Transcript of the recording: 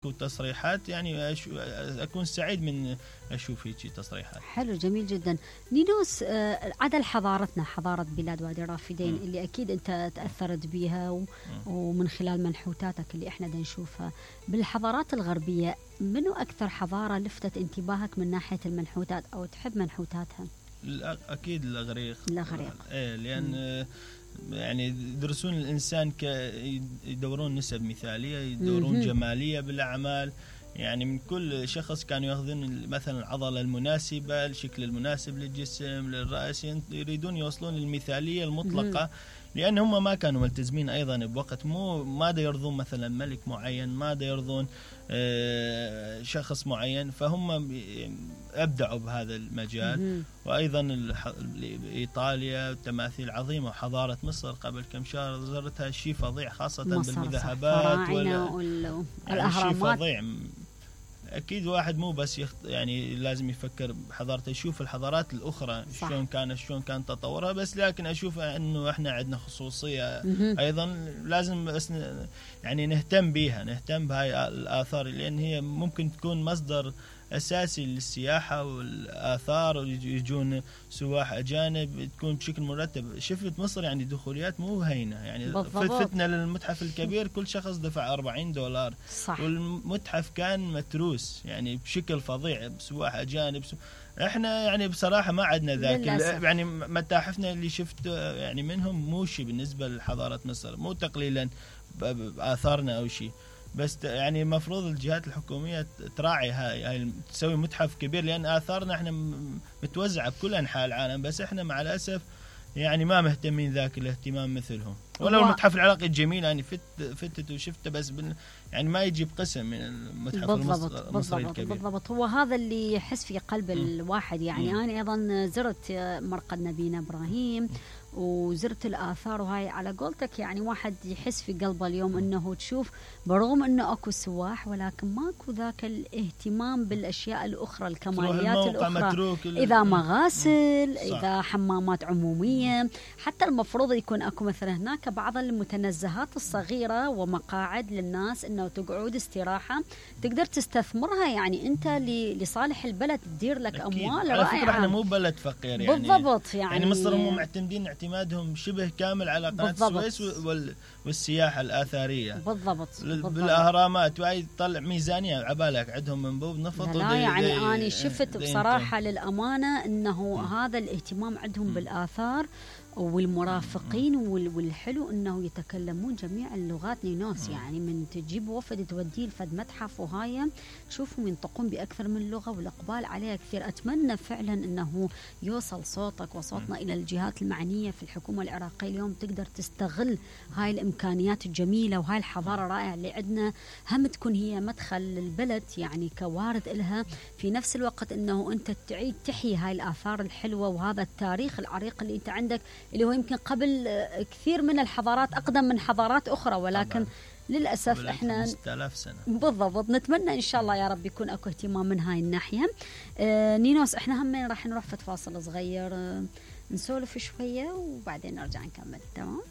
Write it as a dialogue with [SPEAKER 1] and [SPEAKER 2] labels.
[SPEAKER 1] وتصريحات يعني أكون سعيد من أشوف هيك تصريحات.
[SPEAKER 2] حلو، جميل جدا. نينوس، عدا حضارتنا، حضارة بلاد وادي الرافدين اللي أكيد أنت تأثرت بيها ومن خلال منحوتاتك اللي إحنا دا نشوفها، بالحضارات الغربية منو أكثر حضارة لفتت انتباهك من ناحية المنحوتات أو تحب منحوتاتها؟
[SPEAKER 1] أكيد الإغريق. لأن يعني يدرسون الإنسان يدورون نسب مثالية، يدورون جمالية بالأعمال. يعني من كل شخص كانوا ياخذون مثلا العضلة المناسبة، الشكل المناسب للجسم، للرأس، يريدون يوصلون للمثالية المطلقة. لأن هم ما كانوا ملتزمين أيضا بوقت، ما دا يرضون مثلا ملك معين، ما دا يرضون شخص معين، فهم أبدعوا بهذا المجال. وأيضا إيطاليا تماثيل عظيمة، وحضارة مصر قبل كم شهر زرتها، شيء فظيع خاصة بالمذهبات
[SPEAKER 2] والأهرامات.
[SPEAKER 1] شيء فظيع. أكيد واحد مو بس يعني لازم يفكر بحضارته، يشوف الحضارات الأخرى شلون كان تطورها، بس لكن أشوف إنه إحنا عندنا خصوصية أيضا لازم يعني نهتم بها، نهتم بهاي الآثار، لأن هي ممكن تكون مصدر أساسي للسياحة والآثار، ويجون سواح أجانب تكون بشكل مرتب. شفت مصر يعني دخوليات مو هينة، يعني فتنا للمتحف الكبير كل شخص دفع $40.
[SPEAKER 2] صح.
[SPEAKER 1] والمتحف كان متروس يعني بشكل فظيع بسواح أجانب. احنا يعني بصراحة ما عندنا ذاك، يعني متاحفنا اللي شفت يعني منهم مو شيء بالنسبة لحضارة مصر، مو تقليلا بآثارنا أو شيء، بس يعني المفروض الجهات الحكومية تراعي هاي تسوي متحف كبير، لأن آثارنا احنا متوزعة بكل أنحاء العالم، بس احنا مع الأسف يعني ما مهتمين ذاك الاهتمام مثلهم. ولو المتحف العراقي الجميل يعني فتت وشفته، بس يعني ما يجيب قسم من المتحف المصري الكبير.
[SPEAKER 2] بالضبط، هو هذا اللي يحس في قلب الواحد. يعني أنا أيضا زرت مرقد نبينا إبراهيم وزرت الآثار، وهاي على قولتك يعني واحد يحس في قلبه اليوم أنه تشوف برغم أنه أكو سواح، ولكن ماكو ذاك الاهتمام بالأشياء الأخرى، الكماليات الأخرى، إذا مغاسل، إذا حمامات عمومية. حتى المفروض يكون أكو مثلا هناك بعض المتنزهات الصغيرة ومقاعد للناس أنه تقعد استراحة تقدر تستثمرها، يعني أنت لصالح البلد تدير لك أموال رائعة.
[SPEAKER 1] على فكرة احنا مو بلد فقير يعني.
[SPEAKER 2] بالضبط.
[SPEAKER 1] يعني مصر هم معتمدين اعتمادهم شبه كامل على قناة السويس والسياحة الآثارية.
[SPEAKER 2] بالضبط.
[SPEAKER 1] بالأهرامات، وهي تطلع ميزانية عبالك عندهم منبوب نفط.
[SPEAKER 2] لا يعني أنا شفت بصراحة للأمانة أنه هذا الاهتمام عندهم بالآثار والمرافقين والحلو أنه يتكلمون جميع اللغات. نينوس يعني من تجيب وفد توديه لفد متحف وهاي تشوفهم ينطقون بأكثر من لغة، والإقبال عليها كثير. أتمنى فعلا أنه يوصل صوتك وصوتنا إلى الجهات المعنية في الحكومة العراقية اليوم، تقدر تستغل هاي الإمكانيات الجميلة وهاي الحضارة الرائعة اللي عندنا، هم تكون هي مدخل للبلد يعني كوارد إلها، في نفس الوقت أنه أنت تعيد تحيي هاي الآثار الحلوة وهذا التاريخ العريق اللي أنت عندك، اللي هو يمكن قبل كثير من الحضارات أقدم من حضارات أخرى، ولكن طبعا للأسف إحنا
[SPEAKER 1] 5000 سنة.
[SPEAKER 2] بالضبط. نتمنى إن شاء الله يا رب يكون أكو اهتمام من هاي الناحية. نينوس، إحنا هم راح نروح فاصل صغير نسولف شوية وبعدين نرجع نكمل. تمام؟